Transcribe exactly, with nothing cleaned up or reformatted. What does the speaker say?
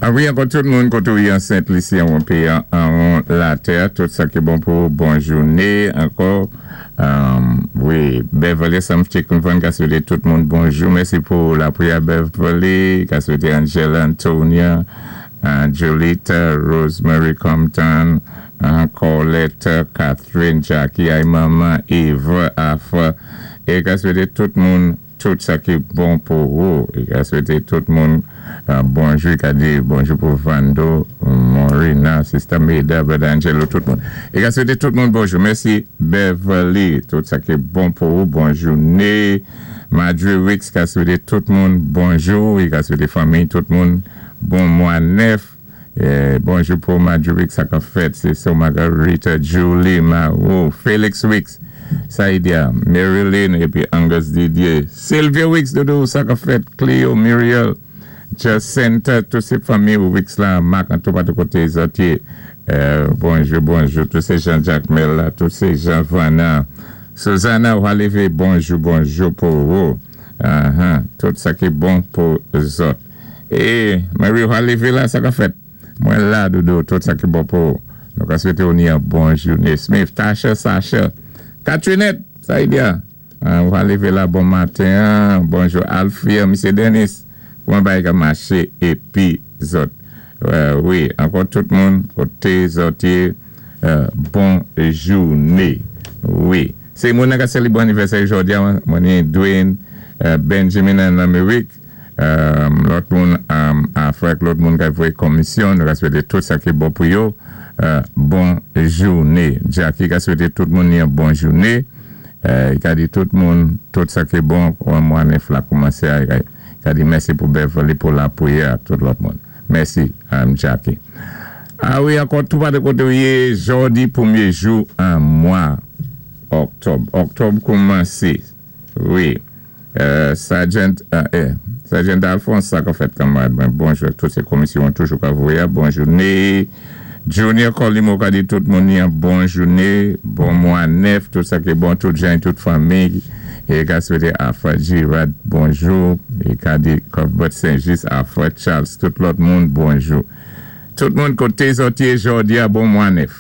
A wi, ankò tout moun koté ou yé an Sent Lisi, an péyi an latè, tout sa ki bon pou bon jouné, ankò. Wi, Beverly Samchicken ka swété tout moun bonjou. Mèsi pou lapriyè Beverly, ka swété Angela Antonia, Jolita, Rosemary Compton, Colette, Catherine, Jackie, ay maman, Eva, Afa, é ka swété tout moun tout sa ki bon pou ou. É ka swété tout moun bonjou, ka di bonjou pou Vando, Morina, Sister Maida, Brother Angelo, tout moun. É ka swété tout moun bonjou. Mèsi Beverly, tout sa ki bon pou ou, bon jouné. Madre Wicks ka swété tout moun bonjou, é ka swété fanmi tout moun bon mwa nèf. Bonjou pou Madre Wicks sa ka fèt, sé so Margarita, Julie, Marou, Felix Wicks, Saidia, Marilyn, épi Angus Didier, Sylvia Wicks, doudou, sa ka fèt, Cleo, Muriel, Jacinta, tout sé fanmi Wicks la, Marc, an tou patou koté zòt yé, bonjou, bonjou, tout sé Jean-Jacques Mel, tout sé Jean Vana, Susanna Walivé, bonjou, bonjou pou ou, tout sa ki bon pou zòt. É, Marie Walivé la, sa ka fèt, mwen la, doudou, tout sa ki bon pou ou. Nou ka swété ou ni an bon jouné. Smith, Tasha, Sasha, Catrinette, Saidia, Walivé la, bon maten, bonjou Alfia, Misye Dennis, kouman bagay ka maché, épi zòt. Wi, ankò tout moun, koté zòt yé, bon jouné. Wi. Sé moun ka sélébwé anivèsè jòdi a, mwen ni Dwayne, Benjamin an Amerik, lòt moun Afrik, lòt moun ka voyé komisyon, nou ka swété tout sa ki bon pou yo, bon jouné. Jackie ka swété tout moun ni an bon jouné, ka di tout moun, tout sa ki bon, mwa nèf la koumansé, ka di mèsi pou Beverly, pou lapriyè, tout lòt moun. Mèsi, Jackie. A wi, ankò tout patou koté ou yé, jòdi pwémyé jou an mwa òktòb. Òktòb koumansé. Wi. Sergeant, Sergeant Alphonse, sa ka fèt kanmarad. Bonjou, tout sé komisyon toujou ka voyé. Bon jouné. Junior Colimo ka di tout moun ni an bon jouné. Bon mwa nèf, tout sa ki bon, tout jan, tout fanmi. É ka swété Alpha Girard, bonjou. É ka di Cuthbert Saint-Just, Alpha Charles, tout lòt moun, bonjou. Tout moun koté zòt yé jòdi a bon mwa nèf.